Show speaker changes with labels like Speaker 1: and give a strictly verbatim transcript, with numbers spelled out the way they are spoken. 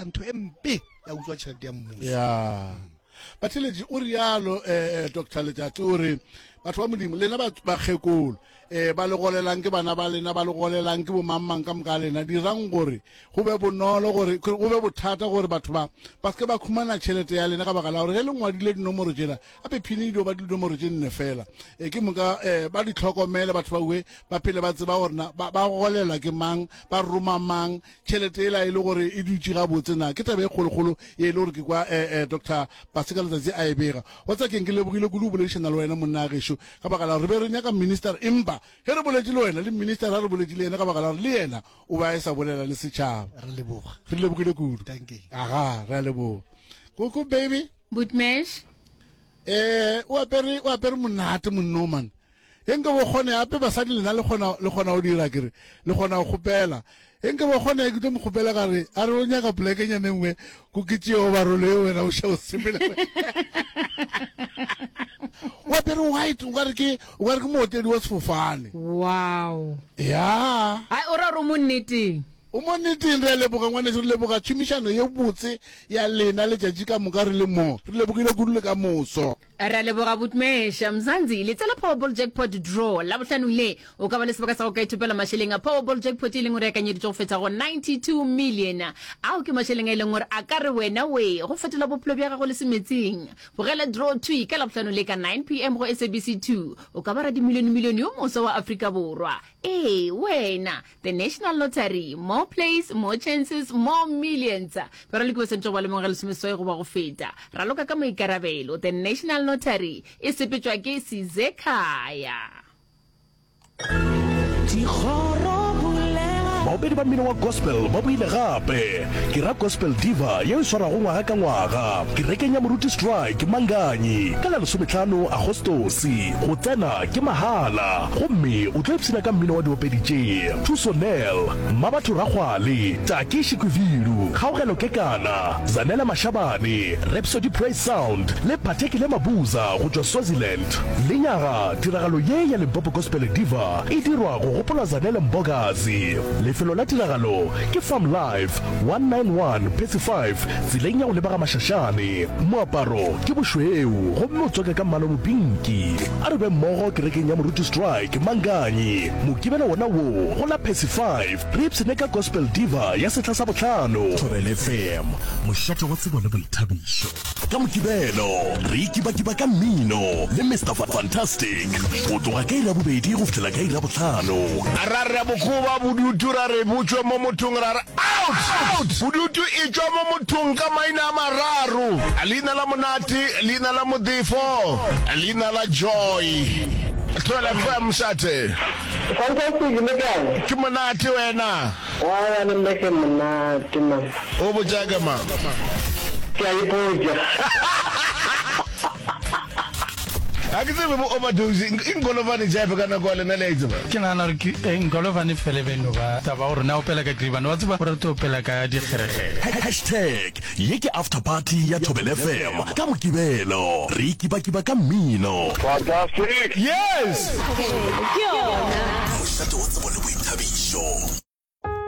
Speaker 1: etsa ntho e mpe ya utswa tšhelete ya mmuso.
Speaker 2: Ya batheletši o rialo um Doctor Letšatši o re batho ba Modimo lena bakgekolo um ba le golelang ke bana ba lena, ba le golelang ke bomangmang ka moka lena, dirang gore go be bonolo, gore go be bothata gore batho ba ba seke ba khumana tšhelete ya lena, ka baka la gore ge le ngwadile dinomoro tšela gape phini di dio ba dinomoro tše nne fela, um ke moka um ba di tlhokomele batho ba ue ba phele ba tseba gore na ba golelwa ke mang, ba roma mang tšhelete ela e le gore e dutše gabotse na. Ke taba e kgolokgolo ye e le gore ke kwa um Doctor Paseka Letsatsi a e bega. Wa tsa keng, ke lebogile kudu go boledišana le wena monna gešo, ka baka la gore re be re nyaka minister, empa ge re boletše le wena le minister a re boletše le yena, ka baka la gore le yena o be a e sa bolela le setšhaba.
Speaker 1: Re leboga,
Speaker 2: re lebogile kudu.
Speaker 1: Dankie.
Speaker 2: Aga, re a leboga. Koko baby.
Speaker 3: Bootmesh.
Speaker 2: Eh, o apere o apere monate monno man. E nka bo kgone ape basadi lena le kgona le kgona go dira kere le kgona go kgopela. E nka bo kgone ke tlo mo kgopela ka re a re o nyaka poleke nyane nngwe ko ke tšeo ba role wena o šao sepela. O apere white o ka re ke o ka re ke mootledi wa sefofane.
Speaker 3: Wow.
Speaker 2: Ya.
Speaker 3: Ai o ra re mo nneteng.
Speaker 2: O mo nneteng, re a leboga ngwaneso, re leboga tšhomišano ye botse ya lena letšatši ka moka re le mo. Re lebogile kudu le ka moso.
Speaker 3: Re a leboga Bootmesh. Mzansi, letsela Powerball Jackpot Draw Labohlanong le o ka ba le sebaka sa go ka ithopela mašeleng a Powerball Jackpot e leng gore e akanyeditšwe go feta go ninety-two million. Ao ke mašeleng a e leng gore a ka re wena we go fetola bophelo bja gago le semetseng. Bogela Draw thwi ka Labohlano le ka nine P M go S A B C two. O ka ba radimilionemilione yo moswa wa Afrika Borwa. Ee, wena! The National Lottery, more plays, more chances, more millions. Baraloki ba swanetše go ba le mengwaga e lesomeseswai goba go feta. Raloka ka maikarabelo. The National Lottery e sepetšwa ke Sizekhaya.
Speaker 4: Baopedi ba mmino wa gospel ba boile gape ke ra Gospel Diva yeo e swarwago ngwaga ka ngwaga kerekeng ya Moruti Strike Manganyi ka la lesometlhano Agostose. Go tsena ke mahala gomme o tlo ipshina ka mmino wa diopedi tše Thuso Nel, Mmabatho Rakgwale, Taki Shikwivilu, Kgaogelo Kekana, Zanele Mashabane, Rhapsody Praise Sound le Phathekile Mabuza go tšwa Swaziland. Lenyaga tiragalo ye ya Limpopo Gospel Diva e dirwa go gopola Zanele Mbokazi. Lefelo la tiragalo ke Farm Life one nine one Percy five tseleng ya go leba ga Mashashane. Moaparo ke bošweu gomme o tswaka ka mmala o mopinki. A re be mmogo kerekeng ya Moruti Strike Manganyi Mokibelo wona wo go la Percy five re ipshine ka Gospel Diva ya sehla sa bohlano. Thobela F M, mošate wa tsebo le boithabišo. Ka Mokibelo re ikibakiba ka mmino le Mister Fantastic go tloga ka iri ya bobedi go fihlela ka iri ya bohlano.
Speaker 5: Ra re bokoba bodutu, ra re bo tšwe mo mothong, ra re out out. Bodutu e tšwa mo mothong ka maina a mararo: leina la Monate, leina la Modifo, leina la Joy. Thobela F M, mošate.
Speaker 6: Fantastic, le kae?
Speaker 5: Ke monate, wena?
Speaker 6: Wa le nna ke monate man.
Speaker 5: O botša ke mang?
Speaker 6: Ke a ipotša.
Speaker 5: Ga ke tsebe bo overdose e nkolovane jape ka nako ya lena, le a e tseba?
Speaker 7: Ke nagana gore ke eh, nkolovane fele beno ba taba gore na opela ka kribane wa tseba o rata opela ka dikgerekgere.
Speaker 4: Hashtag ye ke after party ya Thobela F M ka Mokibelo re ikibakiba ka mmino.
Speaker 5: Fantastic, yes.
Speaker 3: Ke yona.
Speaker 4: Mošate wa tsebo le boithabišo.